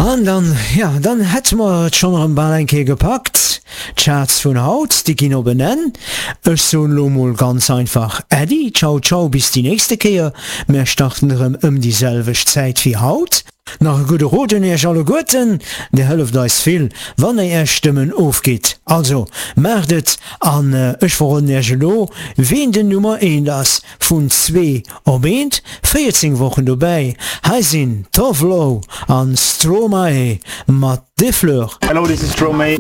An dann, jo, dann hätte mer et schonn erëm bal eng Kéier gepackt. D'Charts vun haut, déi ginn op en Enn. Ech soen elo mol ganz einfach Äddi, ciao ciao, bis déi nächste Kéier. Mär starten erëm ëm déi selwecht Zäit wéi haut. Nach e gudde Rot un iech alleguerten, Dir hëlleft eis vill, wann dir är Stëmmen ofgitt. Also, maacht et an ech verroden iech elo, ween den Nummer eent ass, vun zwee op eent, 14 Wochen dobäi. Hei sinn Tove Lo an Stromae mat Des Fleurs. Hello, this is Stromae.